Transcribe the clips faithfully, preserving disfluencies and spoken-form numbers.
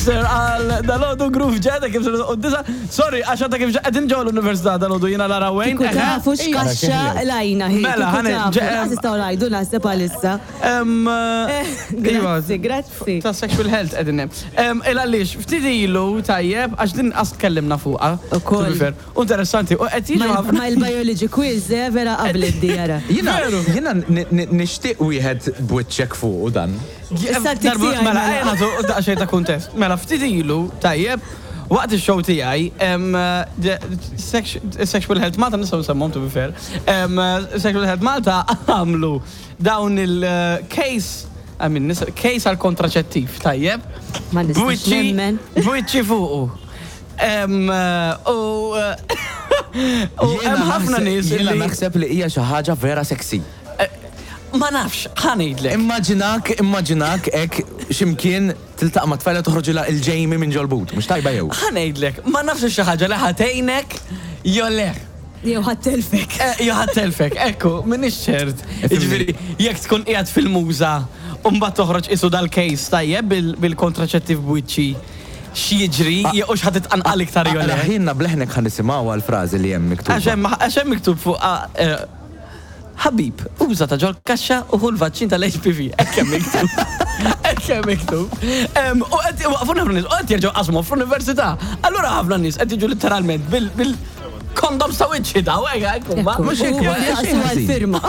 Sir, għal dal-għodu Groove Jet, kif sir disa. Sorry, għax għadha kif qegħdin ġew l-università dal-għodu jiena Lara Wayne. Kieku tafu x'kaxxa lajna hi. Mela, kieku ħane- tafu. ġe- Lanqas nistgħu ngħidu naħseb għalissa. Em, iva, Grazzi, grazzi. Ta' sexual health qegħdin hemm. Em, Il għaliex, ftit ilu tajjeb, għax din qas tkellimna fuqha. Ukoll. To be fair. U interessanti, u qed jiġu ħafna. Ma il-biology quiz, eh, vera qabel id-djara. Jiena, Veru. jiena ni- ni- nixtieq wieħed b'wiċċek fuq u dan. Issa Darba- t-tiksija Mela, mela. ejja nagħtu daqsxejn ta' kuntest. Mela, ftit ilu, tajjeb, waqt il-show tiegħi, em, de- sex- Sexual Health Malta, nistgħu nsemmuhom to be fair, em, Sexual Health Malta għamlu dawn il-case, I mean, nis- case għal kontraċettiv, tajjeb. Ma nistax B'wiċċi- nemmen. B'wiċċi fuqu. Em, U u Jiena hemm ħafna naħseb- nies Jiena li naħseb li hija xi ħaġa vera sexy. Ma nafx, ħa ngħidlek. Immaġinak, immaġinak hekk x'imkien tiltaqa' ma' tfajla toħroġilha il-Jamie minn ġol-but, mhux tajba jew. Ħa ngħidlek, ma nafx xi ħaġa li ħa tgħinek jew le. Jew ħa ttelfek. Eh, Jew ħa ttelfek, ekku, m'iniex ċert. Jiġifieri, jekk tkun qiegħed fil-muża u mbagħad toħroġ isu dal-case tajjeb bil- bil-kontraċettiv b'wiċċi x'jiġri, jew ħa titqanqal iktar jew le. Ħinna bleħnek ħa nisimgħu għal-frażi li hemm miktub. Għax hemm għax hemm miktub fuq ah, eh, "Ħabib, uża ta' ġol kaxxa u ħu l-vaċċin tal-H P V" Hekk hemm miktub. Hekk hemm miktub. Em, U qed waqfu ħafna nies, u qed jerġgħu qasmu fl-università. Allura ħafna nies qed jiġu literalment bil bil kondoms ta' wiċċi daw, hekk hekk huma. Mhux hekk, U ma saqsu għal-firma.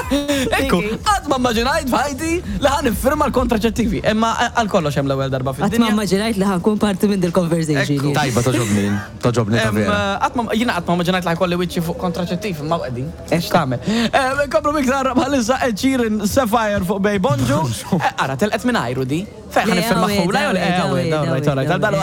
Ekku, qatt ma immaġinajt f'ħajti li ħa niffirma l-kontraċettivi. Imma għal kollox hemm l-ewwel darba Qatt ma fid-dinja. immaġinajt li ħa nkun parti minn dil-conversation. Ekku. Tajba togħġobni, togħġobni ta' Em, vera. Qatt ma jiena qatt ma immaġinajt li ħa jkolli wiċċi fuq kontraċettiv, imma qegħdin. X'tagħmel? Komplu miktar bħalissa Ed Sheeran, Sapphire fuq Bay Bonġu. Eh, Ara, telqet minn ajru di. Fejn ħa Le, niffirma għawed, ħula jew le? għawed, Eh, għawed, għawed, all right, all right. għawed. Dal-